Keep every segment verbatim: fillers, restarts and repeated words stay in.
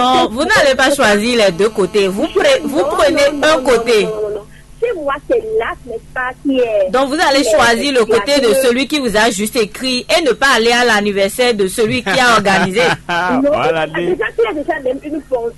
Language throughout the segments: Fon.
Non, vous n'allez pas choisir les deux côtés. Vous, pre- vous prenez un côté. Si moi, c'est là, n'est-ce pas, qui est. Donc vous allez choisir le côté de celui qui vous a juste écrit et ne pas aller à l'anniversaire de celui qui a organisé. Non, déjà, il a déjà même une pensée,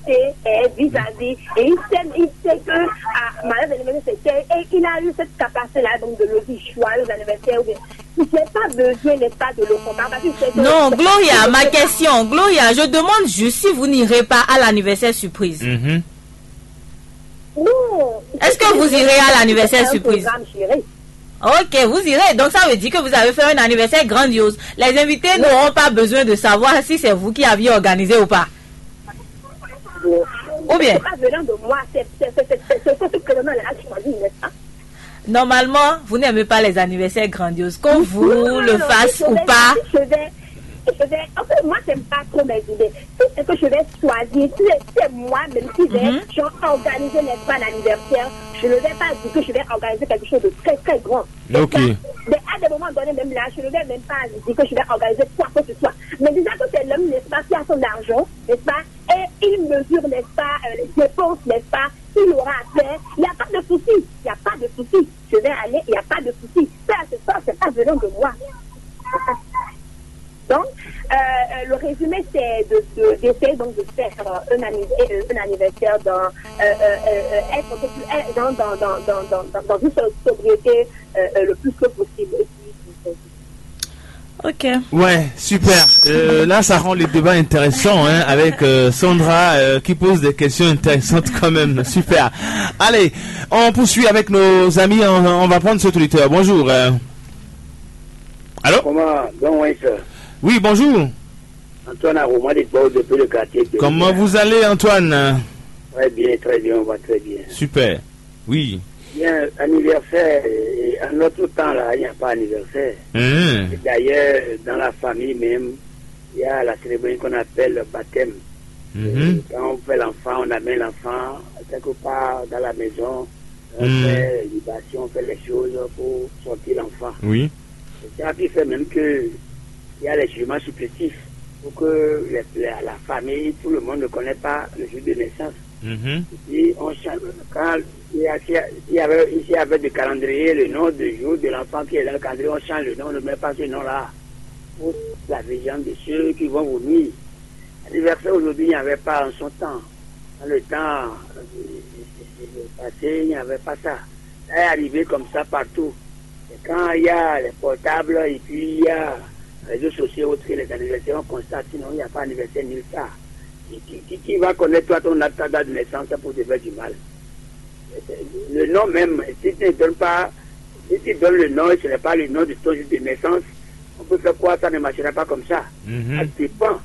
eh, vis-à-vis. Et il sait, il sait que, ah, malheur de l'anniversaire, c'est tel. Et il a eu cette capacité-là, donc, de le dire, joyeux anniversaire, ou bien. Il n'a pas besoin, n'est-ce pas, de le comparer, parce que c'est. Non, Gloria, ma question. Gloria, je demande juste si vous n'irez pas à l'anniversaire surprise. Mhm. Non. Est-ce que vous irez à l'anniversaire surprise? Ok, vous irez. Donc ça veut dire que vous avez fait un anniversaire grandiose. Les invités n'auront pas besoin de savoir si c'est vous qui aviez organisé ou pas. Ou bien? C'est pas venant de moi, c'est c'est- c'est- c'est- c'est ce que ce prénom-là a choisi, n'est-ce pas? Normalement, vous n'aimez pas les anniversaires grandioses, qu'on vous le fasse ou pas. Je vais, je vais, en fait, moi, j'aime pas trop mes idées. Si c'est que je vais choisir, si c'est moi-même qui vais, mhm, genre, organiser, n'est-ce pas, l'anniversaire, je ne vais pas dire que je vais organiser quelque chose de très, très grand. Ok. Mais à des moments donnés, même là, je ne vais même pas dire que je vais organiser quoi que ce soit. Mais déjà que c'est l'homme, n'est-ce pas, qui a son argent, n'est-ce pas, et il mesure, n'est-ce pas, euh, les dépenses, n'est-ce pas, qu'il aura à faire, il n'y a pas de souci, il n'y a pas de souci. Je vais aller, il n'y a pas de souci. Ça, c'est ça, c'est pas venant de moi. Donc, euh, euh, le résumé, c'est de, de- d'essayer donc de faire euh, un, anniv- euh, un anniversaire dans, euh, euh, euh, euh, être un peu plus, euh, dans, dans, dans, dans, dans, dans- dans une so- sobriété euh, euh, le plus tôt possible. Et puis, Ok. Ouais, super. Euh, là, ça rend le débat intéressant, hein, avec euh, Sandra euh, qui pose des questions intéressantes quand même. Super. Allez, on poursuit avec nos amis. On, on va prendre cet auditeur. Bonjour. Euh. Allô? Comment donc, oui, sir? Oui, bonjour. Antoine Aroma de Gbao depuis le quartier. De Comment vous allez, Antoine? Très bien, très bien, on va très bien. Super. Oui. Bien, anniversaire, euh, en notre temps là, il n'y a pas anniversaire. Hein. Et d'ailleurs, dans la famille même, il y a la cérémonie qu'on appelle le baptême. Mhm. Quand on fait l'enfant, on amène l'enfant quelque part dans la maison, on Mhm. fait libation, on fait les choses pour sortir l'enfant. Oui. C'est ça qui fait même que il y a les jugements supplétifs pour que les- les- la famille, tout le monde ne connaît pas le jour de naissance. Mhm. Si on change, quand il y a, s'il y a- s'il y avait, ici avait du calendrier, le nom du jour de l'enfant qui est dans le calendrier, on change le nom, on ne met pas ce nom-là. Pour la vision de ceux qui vont vous nuire. L'anniversaire aujourd'hui, il n'y avait pas en son temps. Dans le temps euh, passé, il n'y avait pas ça. Ça est arrivé comme ça partout. Et quand il y a les portables et puis il y a les réseaux sociaux autres que les anniversaires, on constate, sinon il n'y a pas anniversaire nulle part. Qui, qui- qui- qui va connaître toi ton ta date de naissance pour te faire du mal? Le nom même, si tu ne donnes pas, si tu donnes le nom et ce n'est pas le nom de ton jour de naissance, on peut faire croire que ça ne marchera pas comme ça. Ça Mhm. dépend.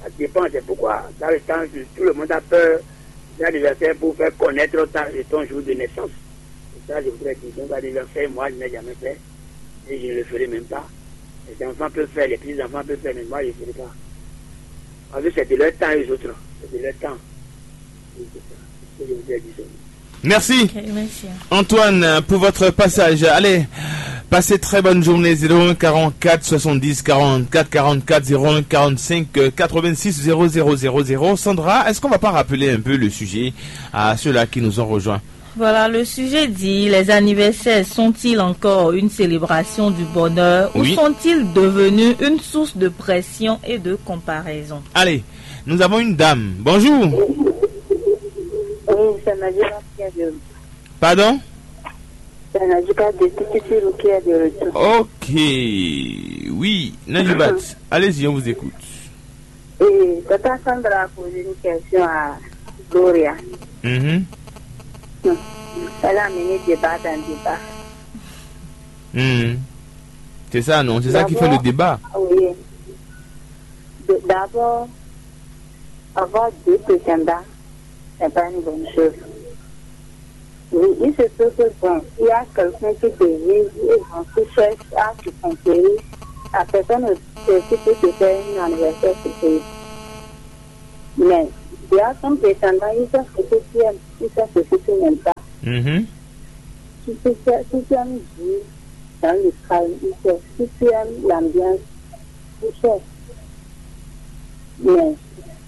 Ça dépend. C'est pourquoi dans le temps, tout le monde a peur d'un anniversaire pour faire connaître ta- ton jour de naissance. C'est ça, je voudrais dire. Donc, l'anniversaire, moi, je n'ai jamais fait. Et je ne le ferai même pas. Les enfants peuvent faire, les petits-enfants peuvent faire, mais moi, je ne ferai pas. Parce que c'est de leur temps, les autres. C'est de leur temps. Oui, c'est ça. C'est ce que je voudrais dire. Merci. Ok, merci. Antoine, pour votre passage. Allez, passez très bonne journée. Zéro un quarante-quatre soixante-dix quarante-quatre quarante-quatre, zéro un quarante-cinq quatre-vingt-six zéro zéro zéro zéro. Sandra, est-ce qu'on va pas rappeler un peu le sujet à ceux-là qui nous ont rejoints? Voilà, le sujet dit, les anniversaires sont-ils encore une célébration du bonheur ou Oui. sont-ils devenus une source de pression et de comparaison? Allez, nous avons une dame. Bonjour. Oui, ça m'a dit pas bien de Pardon? Ça m'a dit pas de tout de suite, qui est de retour. Ok. Oui, Najibat, allez-y, on vous écoute. Et Tata Sandra a posé une question à Gloria. Mhm. Elle a mené débat dans débat. Mhm. C'est ça, non? C'est ça qui fait le débat. Oui. De- D'abord, avoir deux prétendants, c'est pas une bonne chose. Oui, il se peut que, bon, il y a quelqu'un qui te vise et bon, qui cherche à te conquérir. La personne aussi peut te faire une anniversaire surprise. Mais, il y a son prétendant, il sait ce que tu aimes, il sait ce que tu n'aimes pas. Mhm. Si tu, sais- si tu aimes vivre dans le calme, il sait. Si tu aimes l'ambiance, il sait. Mais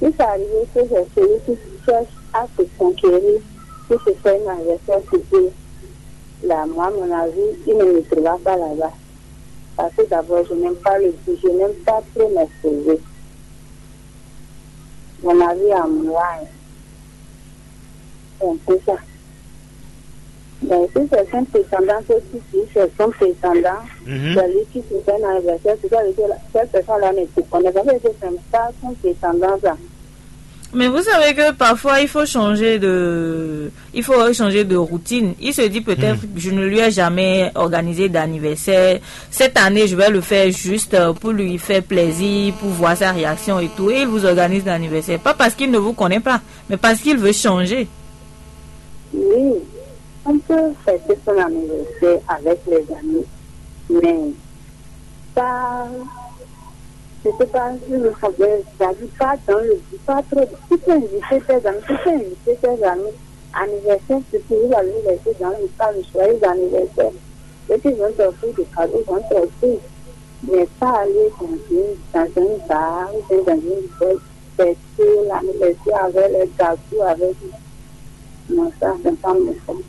Si ça arrive que c'est celui qui cherche à se conquérir, qui se fait un anniversaire surprise, là, moi, à mon avis, il ne me trouvera pas là-bas. Parce que d'abord, je n'aime pas le bruit, je n'aime pas trop m'exposer. Mon avis à moi, hein. C'est un peu ça. Mais si c'est son prétendant, que si, si c'est son prétendant, Mhm. C'est lui qui se fait un anniversaire, c'est ça veut dire que cette personne-là ne te connaît pas, c'est que c'est pas son prétendant, ça. Mais vous savez que parfois, il faut changer de, il faut changer de routine. Il se dit peut-être, Hmm. Je ne lui ai jamais organisé d'anniversaire. Cette année, je vais le faire juste euh, pour lui faire plaisir, pour voir sa réaction et tout. Et il vous organise l'anniversaire. Pas parce qu'il ne vous connaît pas, mais parce qu'il veut changer. Oui, on peut fêter son anniversaire avec les amis, mais pas, je sais pas, je ne sais pas, j'habite pas dans le but, pas trop. Tu peux inviter tes amis, tu peux inviter tes amis. Anniversaire, c'est toujours anniversaire dans le cas de joyeux anniversaire. Et puis, ils vont t'offrir des cadeaux, ils vont t'offrir. Mais pas aller dans une, dans un bar ou bien dans une boîte, fêter l'anniversaire avec les gâteaux, avec. Non, ça, c'est pas mon fond.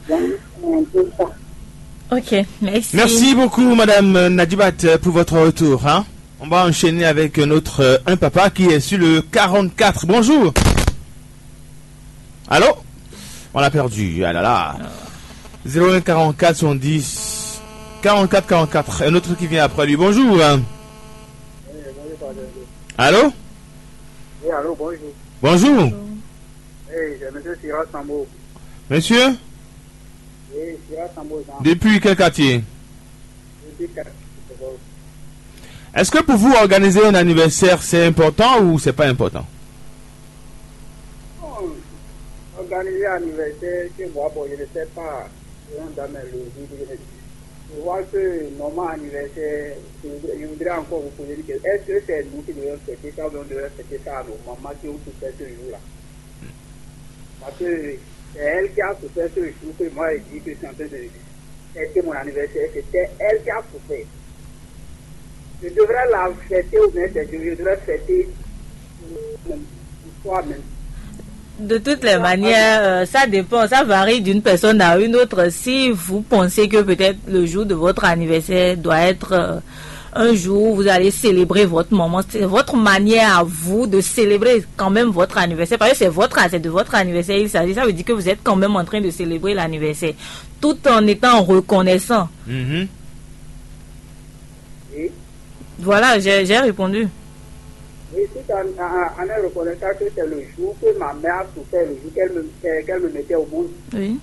Donc, c'est un peu ça. Ok, merci. Merci beaucoup, Madame Nadibat, pour votre retour, hein. On va enchaîner avec notre euh, un papa qui est sur le quarante-quatre. Bonjour. Allô. On l'a perdu. Ah là là. Zéro un quarante-quatre soixante-dix quarante-quatre quarante-quatre. Un autre qui vient après lui. Bonjour, hein. Allô. Oui, allô, bonjour. Bonjour. Oui, c'est monsieur Sira Sambo. Monsieur. Oui, Sira Sambo, Jean. Depuis quel quartier? Depuis quartier. Est-ce que pour vous, organiser un anniversaire, c'est important ou c'est pas important? Bon, organiser un anniversaire chez moi, bon, je ne sais pas. Selon dans mes logiques, je ne sais. Je vois que normalement anniversaire, je voudrais, je voudrais encore vous poser une question. Est-ce que c'est nous qui devons fêter ça ou bien on devrait fêter ça à nos mamans qui ont souffert ce jour-là? Parce que c'est elle qui a souffert ce jour que moi j'ai dit que c'est en train de fêter mon anniversaire. C'était elle qui a souffert. Je devrais la fêter ou bien c'est je devrais fêter pour soi-même. De toutes les manières, euh, ça dépend, ça varie d'une personne à une autre. Si vous pensez que peut-être le jour de votre anniversaire doit être euh, un jour où vous allez célébrer votre maman, c'est votre manière à vous de célébrer quand même votre anniversaire, parce que c'est votre, c'est de votre anniversaire il s'agit, ça veut dire que vous êtes quand même en train de célébrer l'anniversaire, tout en étant reconnaissant. Mhm. Oui. Voilà, j'ai j'ai répondu. Oui, tout en, en, en reconnaissant que c'est le jour que ma mère a souffert, le jour qu'elle me, qu'elle qu'elle me mettait au monde. Oui.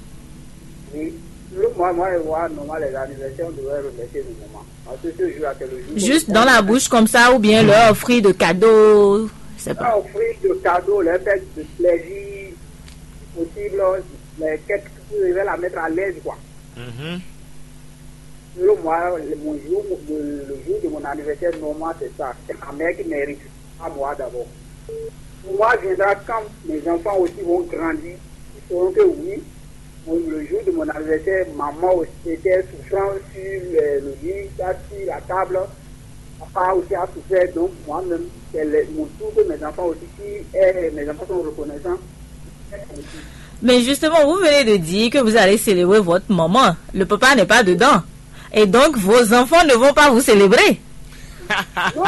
Oui. Le, moi, moi, je vois, normal, les anniversaires, on devrait remercier nos mamans. Parce que ce jour-là, c'est le jour. Juste dans la bouche comme ça, ou bien leur offrir de cadeaux, je sais pas. Leur offrir de cadeaux, leur faire de plaisir possible, les, quelque chose, je vais la mettre à l'aise, quoi. Mhm. Selon moi, le, mon jour, le, le jour de mon anniversaire, normal, c'est ça. C'est ma mère qui mérite, pas moi d'abord. Pour moi viendra quand mes enfants aussi vont grandir. Ils sauront que oui, mon- le jour de mon anniversaire, maman aussi était souffrant sur euh, le lit, ça, sur la table. Papa aussi a souffert, donc moi-même, c'est le- mon tour que mes enfants aussi, si eh, mes enfants sont reconnaissants. Mais justement, vous venez de dire que vous allez célébrer votre maman. Le papa n'est pas dedans. Et donc, vos enfants ne vont pas vous célébrer. Non.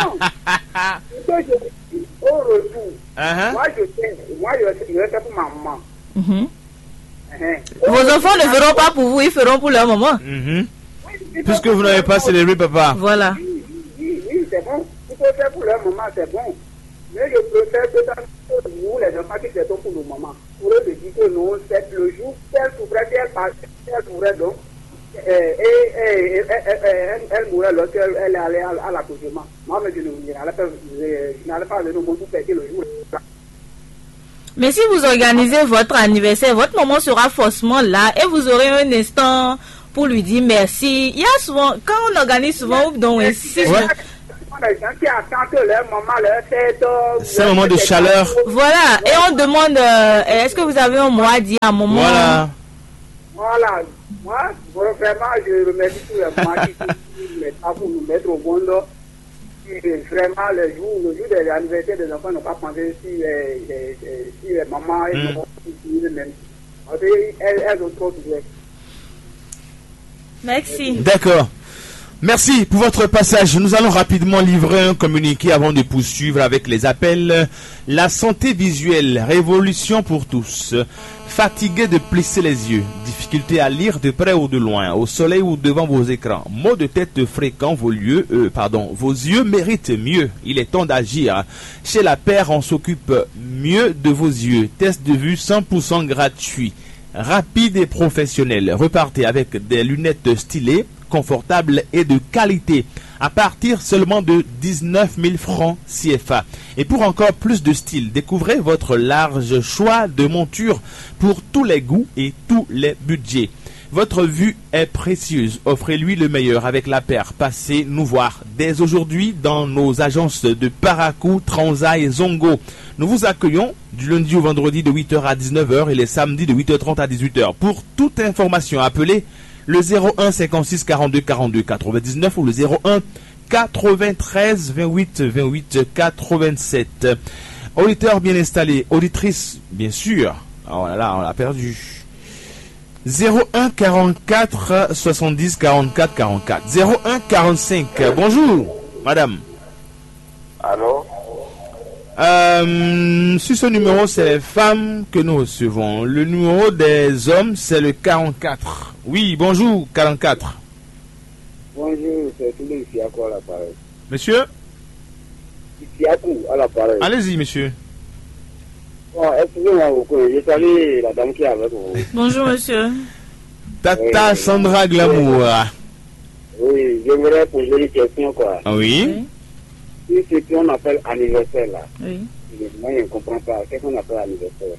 Ce que je dis, au retour, Uh-huh. Moi, je sais, moi, je, je vais faire pour ma maman. Mhm. Uh-huh. Vos enfants ne feront pas pour vous, ils feront pour leur maman. Mhm. Oui, il faut Puisque vous n'avez pas célébré papa. Voilà. Oui, oui, oui, oui, c'est bon. Il faut faire pour leur maman, c'est bon. Mais je préfère que ça, nous, les enfants qui fêtons pour nos mamans. Au lieu de dire que non, c'est le jour qu'elle souffrait, si elle partait, si elle souffrait donc, euh, et, et- et- et- et- elle, elle mourrait lorsqu'elle elle allait à, à l'accouchement. Moi, mais je ne je n'allais pas, je, je n'allais pas venir au monde pour fêter le jour. Mais si vous organisez votre anniversaire, votre maman sera forcément là et vous aurez un instant pour lui dire merci. Il y a souvent, quand on organise souvent, ou donc, oui, si- Ouais. Les gens qui attendent que leur maman leur fête. C'est un moment de chaleur. Voilà, et on demande, euh, est-ce que vous avez un mot à dire à maman? Voilà. Voilà. Moi, vraiment, je remercie tous les mamans qui sont venus pour nous mettre au monde. Et vraiment, le jour, le jour de l'anniversaire des enfants n'ont pas pensé si les, les, les- si les mamans et Hmm. les mamans eux-mêmes. Parce qu'elles elles ont trop de. Merci. D'accord. Merci pour votre passage. Nous allons rapidement livrer un communiqué avant de poursuivre avec les appels. La santé visuelle, révolution pour tous. Fatigué de plisser les yeux, difficulté à lire de près ou de loin, au soleil ou devant vos écrans, maux de tête fréquents, vos lieux, euh, pardon, vos yeux méritent mieux. Il est temps d'agir. Chez la paire, on s'occupe mieux de vos yeux. Test de vue cent pour cent gratuit, rapide et professionnel. Repartez avec des lunettes stylées, confortables et de qualité à partir seulement de dix-neuf mille francs C F A. Et pour encore plus de style, découvrez votre large choix de montures pour tous les goûts et tous les budgets. Votre vue est précieuse. Offrez-lui le meilleur avec la paire. Passez nous voir dès aujourd'hui dans nos agences de Parakou, Transa et Zongo. Nous vous accueillons du lundi au vendredi de huit heures à dix-neuf heures et les samedis de huit heures trente à dix-huit heures. Pour toute information, appelez le zéro un cinquante-six quarante-deux quarante-deux quatre-vingt-dix-neuf ou le zéro un quatre-vingt-treize vingt-huit vingt-huit quatre-vingt-sept. Auditeur bien installé, auditrice, bien sûr. Oh là là, on l'a perdu. Zéro un quarante-quatre soixante-dix quarante-quatre quarante-quatre. Zéro un quarante-cinq. Bonjour, madame. Allô? Euh, sur ce numéro, c'est les femmes que nous recevons. Le numéro des hommes, c'est le quarante-quatre. Oui, bonjour, quarante-quatre. Bonjour, c'est Toulouse Isiakou à l'appareil. Monsieur, Isiakou à l'appareil. Allez-y, monsieur. Bon, excusez-moi beaucoup, je salue la dame qui est avec vous. Bonjour, monsieur. Tata Sandra Glamour. Oui, j'aimerais poser une question, quoi. Ah oui. Si ce qu'on appelle anniversaire là, Oui. moi je ne comprends pas. Qu'est-ce qu'on appelle anniversaire?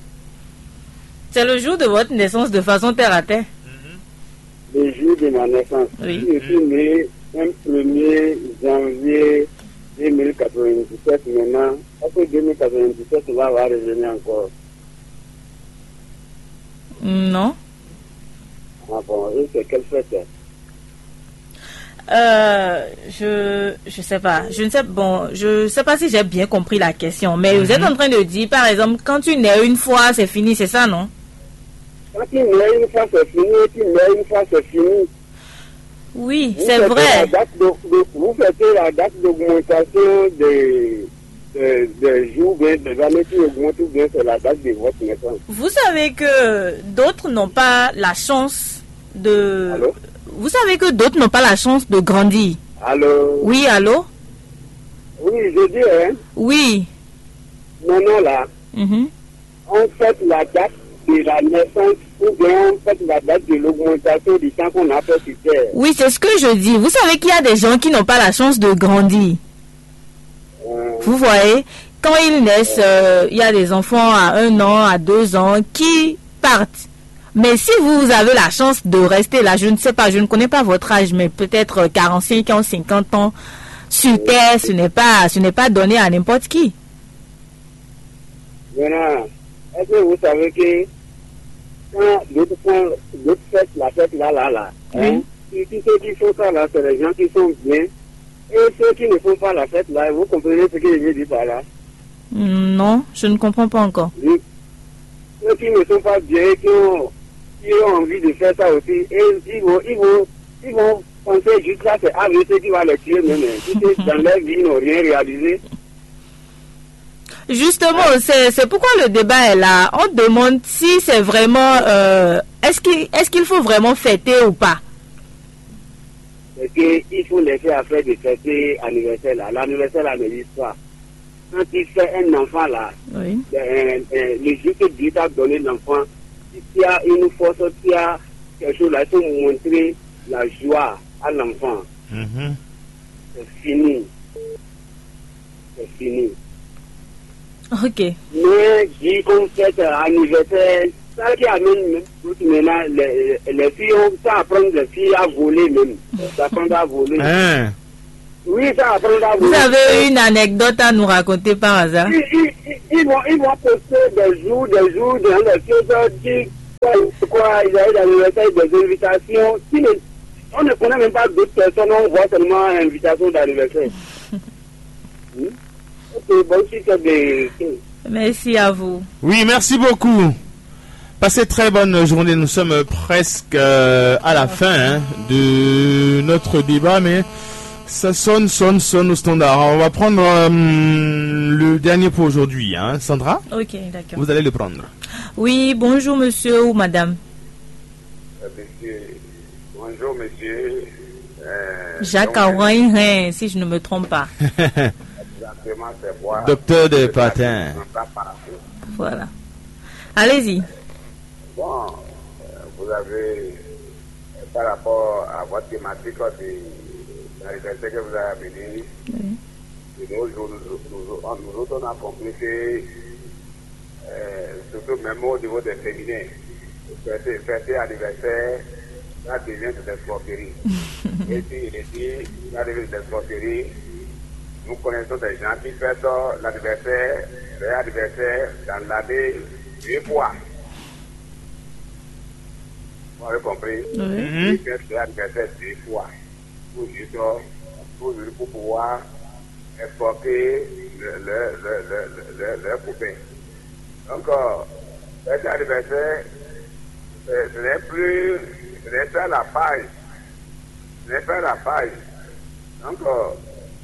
C'est le jour de votre naissance de façon terre à terre. Le jour de ma naissance. Oui. Si je suis né un premier janvier deux mille quatre-vingt-dix-sept maintenant, est-ce que deux mille quatre-vingt-dix-sept va avoir revenir encore? Non. Ah bon, et c'est quelle fête? Euh, je je sais pas. Je ne sais bon, je sais pas si j'ai bien compris la question, mais vous êtes en train de dire, par exemple, quand tu nais une fois, c'est fini, c'est ça, non? Quand tu nais une fois, c'est fini, et tu nais une fois, c'est fini. Oui, Vous c'est fêtez vrai. La date de, de- vous fêtez la date d'augmentation des, des, des jours, bien des années qui augmentent, ou bien c'est la date de votre naissance. Vous savez que d'autres n'ont pas la chance de. Allô? Vous savez que d'autres n'ont pas la chance de grandir. Allô? Oui, allô? Oui, je dis, hein, Oui. maintenant là, Mhm. on fête la date de la naissance ou bien on fête la date de l'augmentation du temps qu'on a fait sur terre. Oui, c'est ce que je dis. Vous savez qu'il y a des gens qui n'ont pas la chance de grandir. Euh, Vous voyez, quand ils naissent, euh, il y a des enfants à un an, à deux ans, qui partent. Mais si vous, vous avez la chance de rester là, je ne sais pas, je ne connais pas votre âge, mais peut-être euh, quarante-cinq ans, cinquante ans, sur terre, ce n'est pas, ce n'est pas donné à n'importe qui. Maintenant, est-ce que vous savez que quand d'autres font, d'autres fêtent la fête là, là, là, hein, Oui. tous tous ceux qui font ça là, c'est les gens qui sont bien. Et ceux qui ne font pas la fête là, vous comprenez ce que je veux dire par là? Non, je ne comprends pas encore. Oui. Ceux qui ne sont pas bien et qui ont, qui ont envie de faire ça aussi, et ils vont, ils vont, ils vont penser juste là, c'est A V C qui va les tuer même. Hein. Si c'est dans leur vie, ils n'ont rien réalisé. Justement, c'est c'est pourquoi le débat est là. On demande si c'est vraiment, euh, est-ce qu'il est-ce qu'il faut vraiment fêter ou pas? C'est qu'il faut laisser à faire de fêter anniversaire là. L'anniversaire là n'existe pas. Quand tu fais un enfant là, Oui. euh, euh, le jour que Dieu t'a donné l'enfant, si tu as une force, si tu as quelque chose là, il faut montrer la joie à l'enfant. Mhm. C'est fini. C'est fini. Ok. Mais dire qu'on fête anniversaire, ça qui amène même doute maintenant, les, les filles ont ça apprendre les filles à voler même. Ça apprendre à voler. Hein. Oui, ça apprendre à Vous voler. Avez une anecdote à nous raconter par hasard? Ils, ils, ils, ils vont, ils vont poster des jours, des jours, dans les choses, dire quoi, quoi, ils arrivent dans l'anniversaire, des invitations. Qui ne- on ne connaît même pas d'autres personnes, on voit seulement invitation d'anniversaire. Ok, bonne suite de. Merci à vous. Oui, merci beaucoup. Passez très bonne journée. Nous sommes presque euh, à la fin, hein, de notre débat, mais ça sonne, sonne, sonne au standard. On va prendre euh, le dernier pour aujourd'hui, hein. Sandra, Ok, d'accord. Vous allez le prendre. Oui, bonjour monsieur ou madame. Euh, monsieur, bonjour monsieur. Euh, Jacques donc, Aouin, hein, si je ne me trompe pas. Exactement, c'est moi. Docteur de Patin. Voilà. Allez-y. Bon, euh, vous avez, euh, par rapport à votre thématique, c'est l'anniversaire que vous avez amené, Oui. De nos jours, nous, nous, nous, nous autres, on a compris que, euh, surtout même au niveau des féminins, fêter, fêter anniversaire, ça devient de l'escroquerie. Et si, et si ça devient de l'escroquerie, nous connaissons des gens qui fêtent l'anniversaire, leur anniversaire dans l'année deux fois. Vous avez compris? Oui. Mhm. Ils fêtent leur anniversaire deux fois. Pour juste, pour, pour pouvoir exporter le, le, le, le, le, le, leur copain. Donc, euh, cet anniversaire, euh, ce n'est plus, ce n'est pas la page. Ce n'est pas la page. Donc, euh,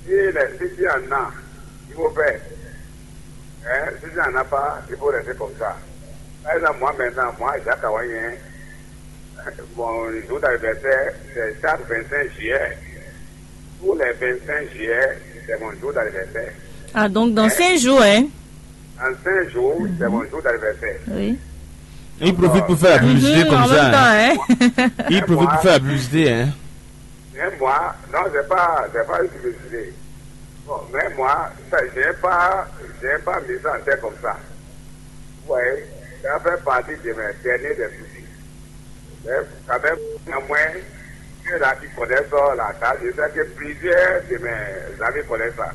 si, les, si tu en as, il faut faire. Hein, si tu n'en as pas, il faut rester comme ça. Par exemple, moi maintenant, moi, Jacques Awayen, mon jour d'anniversaire, c'est chaque vingt-cinq juillet. Tous les vingt-cinq juillet, c'est mon jour d'anniversaire. Ah, donc dans cinq jours, hein? En cinq jours, c'est mon jour d'anniversaire. Oui. Il profite pour faire la publicité Mhm, comme en ça, même temps, hein. Hein. Il profite pour faire la publicité, hein. Mais moi, non, c'est pas, c'est pas une publicité. Bon, mais moi, ça, j'ai pas, j'ai pas mis ça en tête comme ça. Vous voyez, ça fait partie de mes derniers des soucis. Mais quand même, néanmoins, ceux-là qui connaissent ça, là, ça, je sais que plusieurs de mes amis connaissent ça.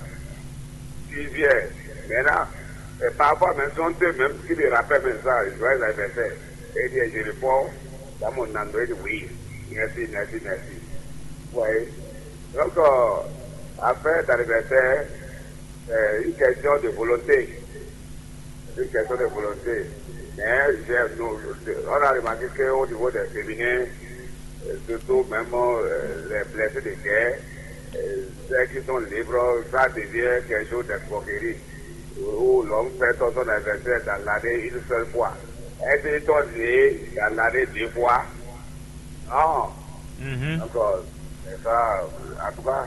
Plusieurs. Maintenant, et parfois même, sont eux-mêmes qui me rappellent même ça, joyeux anniversaire. Et bien, je réponds dans mon endroit, je dis oui, merci, merci, merci. Vous voyez? Donc, euh, affaire d'anniversaire, c'est une question de volonté. C'est une question de volonté. Mais j'ai- nous- on a remarqué qu'au niveau des féminins, euh, surtout même euh, les blessés de guerre, euh, ceux qui sont libres, ça devient quelque chose d'escroquerie. Où l'homme fait son anniversaire dans l'année une seule fois. Est-ce qu'il est né dans l'année deux fois? Non. Mhm. Donc, euh, c'est ça, en tout cas,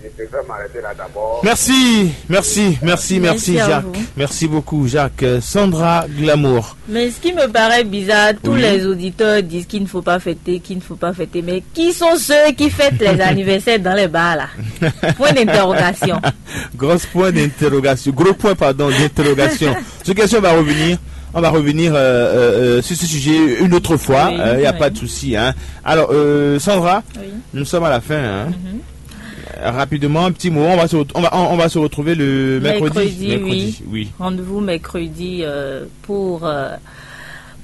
je préfère m'arrêter là d'abord. Merci, merci, merci, merci, Merci à Jacques. Vous. Merci beaucoup, Jacques. Euh, Sandra Glamour. Mais ce qui me paraît bizarre, tous Oui. Les auditeurs disent qu'il ne faut pas fêter, qu'il ne faut pas fêter. Mais qui sont ceux qui fêtent les anniversaires dans les bars là? Point d'interrogation. Grosse point d'interrogation. Gros point, pardon, d'interrogation. Sur question, on va revenir. On va revenir euh, euh, euh, sur ce sujet une autre fois. Oui, il n'y a oui. Pas de souci, hein. Alors, euh, Sandra, Oui. Nous sommes à la fin, hein. Mhm. Euh, Rapidement, un petit mot. On va se, ret- on va, on, on va se retrouver le mercredi. Mercredi, oui. Oui. Rendez-vous mercredi euh, pour euh,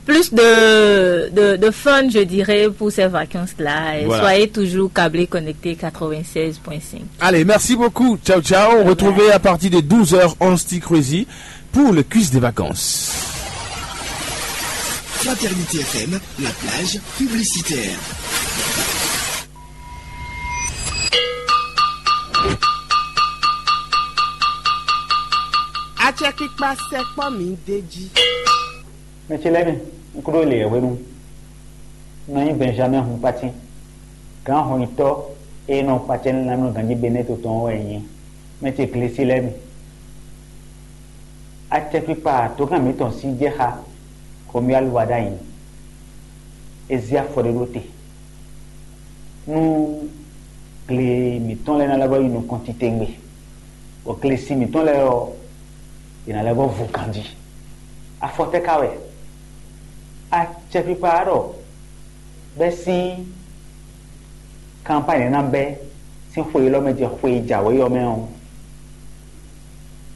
plus de, de, de fun, je dirais, pour ces vacances-là. Et voilà. Soyez toujours câblés, connectés quatre-vingt-seize point cinq. Allez, merci beaucoup. Ciao, ciao. Retrouvez à partir de douze heures onze T Crazy pour le quiz des vacances. Fraternité F M, la plage publicitaire. Acɛkpikpa sɛkpɔ́ mi d'é jí. Mɛ ce lɛ́ɛ mi, un kúɖó le yɛ̌hwenu. Un nɔ nyí Benjamin Hunpati, gǎn hɔnyitɔ́ e nɔ kpacɛ nú lanmɛnɔganjí Benɛ́to tɔn ɔ́ wɛ nyí. Mɛ ce glesi lɛ́ɛ mi. Acɛkpikpa dǒkan mǐtɔn sín jɛ xá Romuald Wadagni. É zé afɔ ɖé ɖó te nú gle mǐtɔn lɛ́ɛ ná lɛ́ vɔ́ yi nukɔn titewungbe, bɔ glesi mǐtɔn lɛ́ɛ ɔ́, yě ná lɛ́ vɔ́ vu ganjí. Afɔ tɛ́ ka wɛ? Acɛkpikpa ɔ́ ɖɔ bɛ́ sín kanpány ná bɛ́ sín xwe élɔ́ mɛ jɛ xwe e jǎwe ɔ́ mɛ ɔ́,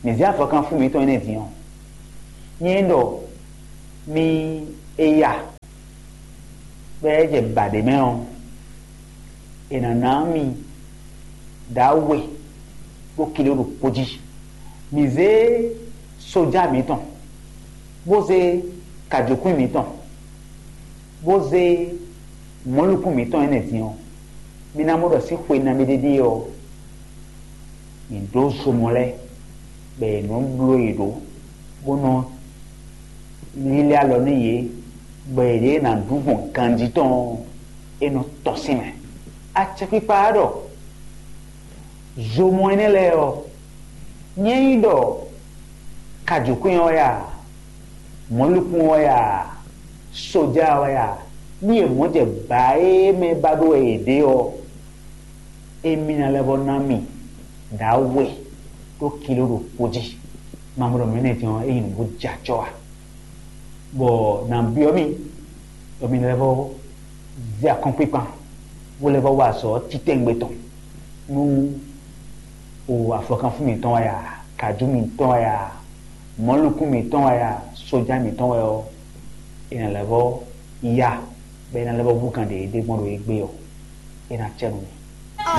mǐ zé avɔkanfún mǐtɔn énɛ́ din ɔ́, nyɛ ɖɔ mì e ya bɔ é jɛ ba ɖě mɛ ɔ́, è nǎ ná mì ɖǎwe ɖó kilo ɖokpó jí. Mǐ zé sójá mǐtɔn, bó zé kajǒkwín mǐtɔn, bó zé mɔ̌likún mǐtɔn énɛ́ din ɔ́, mi ná mɔ ɖɔ sín xwe nabí ɖé ɖíe ɔ́, mǐ ɖó zomɔ lɛ́ɛ, bɔ è nɔ bló yě ɖó, bó nɔ lílɛ́ alɔ nú yě, bɔ yěɖée ná ɖu gbɔn ganjí tɔn ɔ́, é nɔ tɔ́n sín mɛ. Acɛkpikpa ɔ́ ɖɔ zomɔ énɛ́ lɛ́ɛ ɔ́, nyɛ nyí ɖɔ kajǒkwín ɔ́ wɛ a, mɔ̌likún ɔ́ wɛ a, sójá ɔ́ wɛ a, ní è mɔ̌ jɛ bǎ e mɛ ba ɖó wɛ yě ɖe ɔ́, émí ná lɛ́ vɔ́ ná mì ɖǎwe ɖó kilo ɖokpó jí. Mamɔɖɔ mɛ énɛ́ din ɔ́, é nyí nǔ bó jɛ acɔ́ a? Bɔ nǎ byɔ́ mì, bɔ mi lɛ́ vɔ́ zé akɔ́nkpinkpan, bó lɛ́ vɔ́ wa azɔ̌ titɛngbe tɔn nú o afɔkánfún mǐtɔn wɛ a, kǎjú mǐtɔn wɛ a, mɔ̌likún mǐtɔn wɛ a, sójá mǐtɔn wɛ ɔ́, è nǎ lɛ́ vɔ́ ya, bɔ è nǎ lɛ́ vɔ́ hú kan ɖě ɖé gbɔn ɖo égbé ɔ́, é ná cɛ nú mi.